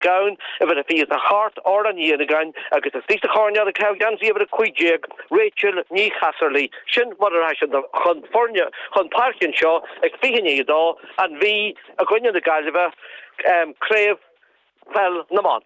Gabhann, uimhir a 28, Orla Ní Fhinneagáin, agus istigh sa choirnéal ag caitheamh geansaí uimhir 15, Rachel Ní Chasarlaí. Sin mar a rachaidh siad chun foirne chun páirce anseo ag 1:40, an Mhí i gcoinne na Gaillimhe, Craobh Peil na mBan.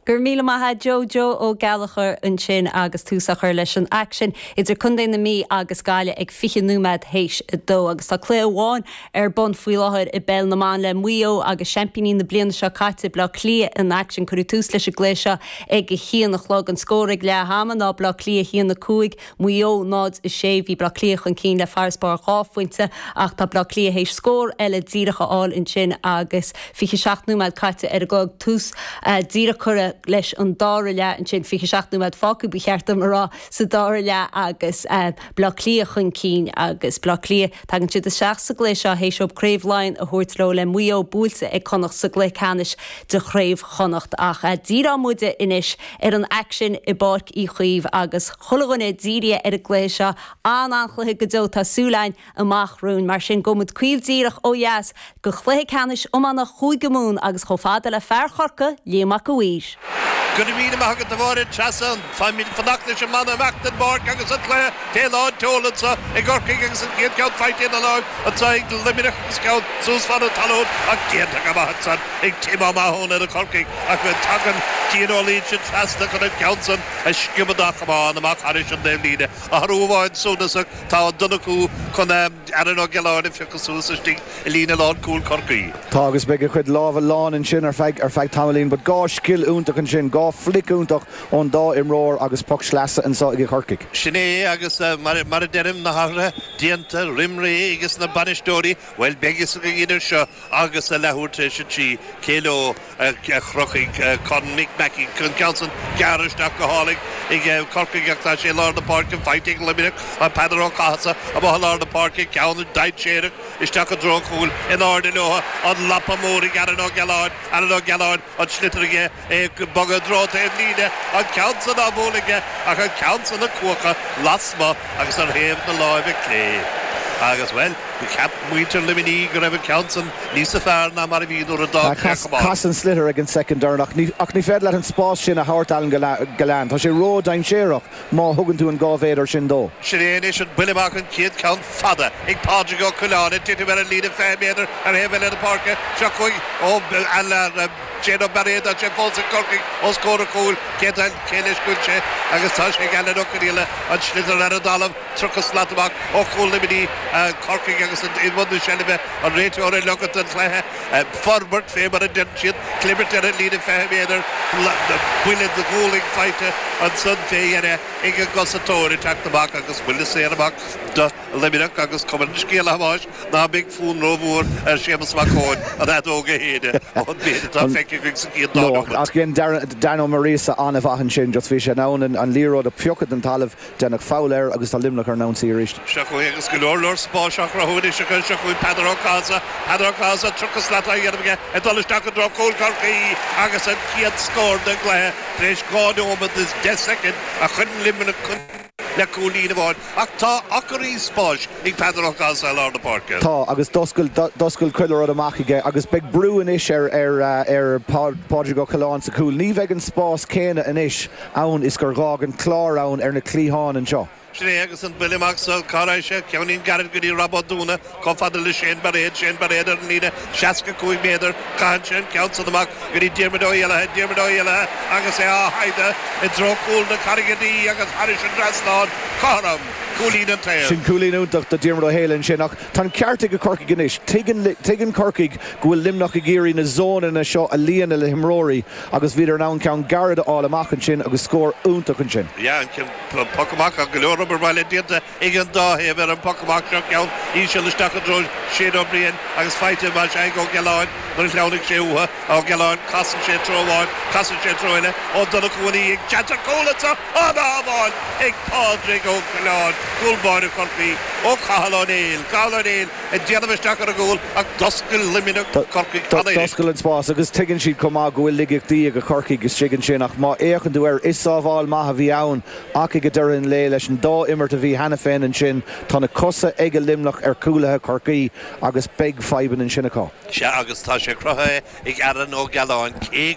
Go raibh míle maith a'd Joe, Joe Ó Gallchóir ansin agus tús á chur leis an aicsean idir Contae na Mí agus Gaillimh ag 20 nóiméad théis a dó. Agus tá cluiche amháin ar bun faoi láthair i bPeil na mBan le Maigh Eo agus seaimpíní na bliana seo caite, Bleá Cliath in aicsean. Cuireadh tús leis an gcluiche seo ag a haon a chlog. An scór ag leath ama ná Bleá Cliath 1, 5, Maigh Eo 0, 6. Bhí Bleá Cliath chun cinn le farasbarr 2 phointe ach tá Bleá Cliath théis scór eile díreach a fháil ansin agus 27 nóiméad caite ar an gclog. Tús díreach curtha leis an dara leath ansin, 27 nóiméad fágtha ba cheart dom a rá, sa dara leath agus Bleá Cliath chun cinn agus Bleá Cliath, tagann siad isteach sa gcluiche seo théis dóibh Craobh Laighean a thabhairt leo le Maigh Eo buailte ag Connacht sa gcluiche ceannais de Chraobh Chonnacht. Ach díreoidh muide anois ar an aicsean i bPáirc Uí Chaoimh agus chuile dhuine dírithe ar an gcluiche seo. An-an-chluiche go deo, tá súil againn amach romhainn. Mar sin, gabhfaidh muid caol díreach ó dheas go chluiche ceannais iomána Chúige Mumhan agus chomh fada le fear Chorcaí, Liam Mac a' Mhaoir. Go raibh míle maith agat a Mháire Treasa. Táimid ag fanacht leis an mbanna imeacht den bpáirc agus an cluiche fé lán tseoil anseo i gCorcaigh agus an chéad cheann faighte ina láimh anseo ag Luimneach agus ceann suas fan an talún ach déanta go maith ansan ag Tim Ó Mathúna do Chorcaigh ach tagann Cian Ó Loingsigh trasna chun an ceann san a sciobadh dá chamán amach thairis an dtaobhlíne. Athrú amháin suntasach, tá Ó Donnchú chun Aaron Ó Giolláin a phiocadh suas istigh i líne lánchúil Chorcaí. Tá agus beidh a chuid lámha lán ansin ar feadh ar feadh tamaillín but 2 scil iontach ansin, 2 phluic iontach ón dá imreoir agus poc sleasa anseo ag Corcaigh. Sin é agus mar a deirim, na hathruithe déanta roim ré ages na bainisteoirí, bhuel beidh fhios againn idir seo agus a leathuair tar éis a 3 cé leo a chrochfaidh Corn Mick Mackey. An ceann san gearrtha isteach go hálainn ag Corcaigh ach tá sé i lár na páirce faighte ag Luimneach. Peadar Ó Cathasaigh amuigh i lár na páirce, ceann dainséarach isteach i dtreo an chúil in airde leo. An lapa mór ag Aaron Ó Gealláin, Aaron Ó Gealláin, an sliotar aige, é ag bogadh i dtreo taobh líne, an ceann san á bhualadh aige ach an ceann san ag cuachadh lasmuigh agus ar thaobh na láimhe clé. Agus, bhuel, cheap muintir Luimnigh go raibh an ceann san níosa fearr ná mar a bhí nuair a d'fhág sé a chamán. Chas an sliotar ag an soicind deireanach ach ní féidir leat an spás sin a thabhairt Alan Gillane. Tá sé ró-dainséarach má thugann tú an 2 mhéadar sin dó. Sin é anois an buille amach, an chéad cheann fada ag Pádraig Ó Coileáin ag titim ar an líne 20 méadar ar thaobh eile na páirce. Seo chugainn ó Shane Ó Bairéad, tá sé fós ag Corcaigh os comhair an chúil. Cé cé leis go bhfuil sé agus tá sé ag Alan Ó Conaola, an sliotar ar an dtalamh, 30 slat amach ó chúl Luimnigh, Corcaigh agus i mbun na seilbhe, an réiteoir ag leogaint an chluiche, forbairt fé mar a deireann siad, clibirt ar an líne 20 méadar, buille de ghualainn faighte ansan fé dheireadh ag an gcosantóir ag teacht amach agus buille saor amach do Luimneach agus cuma an scéil a Thomáis ná beidh fonn rómhór ar Séamus Mac Eoin an fheadóg a shéideadh ón méid atá feicthe againn sa gcéad dá nóiméad. Ach dhein Dan Ó Muiríosa an-mhaith ansin, just bhí sé in ann an liathróid a phiocadh den talamh, deineadh foul air agus tá Luimneach ar an ionsaí arís. Seo chugainn agus go leor leor spáis á chruthú anois acu, seo chugainn Peadar Ó Cathasaigh, Peadar Ó Cathasaigh, 30 slat á dhéanamh aige ag dul isteach i dtreo chúl Chorcaí agus an chéad scór den gcluiche tar éis 2 nóiméad is 10 soicind a chuireann Luimneach chun le cúilín amháin ach tá acraí spáis ag Peadar Ó Cathasaigh i lár na páirce. Tá, agus d'oscail, d'oscail chuile rud amach aige agus beidh brú anois ar, ar, ar Pádraig Ó Coileáin sa chúl. Ní bheidh an spás céanna anois ann is gur ghá an clár ann ar na cliatháin anseo. Sin é agus an buille amach so, cá raibh sé? Ceainnín gairid go dtí Rob Ó Dúna, chomh fada le Shane Bairéad, Shane Bairéad ar an líne 65 méadar, caitheann sé an ceann san amach go dtí Diarmuid Ó hÉallaithe, Diarmuid Ó hÉallaithe agus é á shaighdeadh i dtreo chúl na Carraige Dí agus thairis an dtrasnán, cothrom, cúilín an taobh. Sin cúilín iontach do Diarmuid Ó hÉallaithe ansin ach tá an ceart ag Corcaigh anois. Tuigeann, tuigeann Corcaigh go bhfuil Luimneach ag iarraidh na zónanna seo a líonadh le himreoirí agus bhíodar in ann ceann gairid a fháil amach ansin agus scór iontach ansin. Yeah, an ceann, poc amach ach go leor obair bhaile déanta ag an dá thaobh ar an bpoc amach seo, ceann íseal isteach i dtreo Shane Ó Briain agus faighte más ea ag Ó Gealláin nuair a shleamhnaigh sé uathu. Ó Gealláin, casann sé treo amháin, casann sé treo eile, Ó Donnchú ina dhiaidh, seans ar chúl anseo, an-shábháil ag Pádraig Ó Coileáin. Cúl báire Chorcaí ó Cathal Ó Néill. Cathal Ó Néill ag déanamh isteach ar an gcúl ach d'oscail Luimneach Corcaigh cheana. D'oscail an spás agus tuigeann siad chomh maith go bhfuil laigeachtaí ag Corcaigh istigh ansin ach má fhéachann tú air is sábháil maith a bhí ann ach ag deireadh an lae leis an dá imirt a bhí cheana féin ansin tá na cosa ag Luimneach ar chúlaithe Chorcaí agus beidh fadhbanna ansin acu. Sea agus tá sé cruthaithe ag Aaron Ó Gealáin. Cé.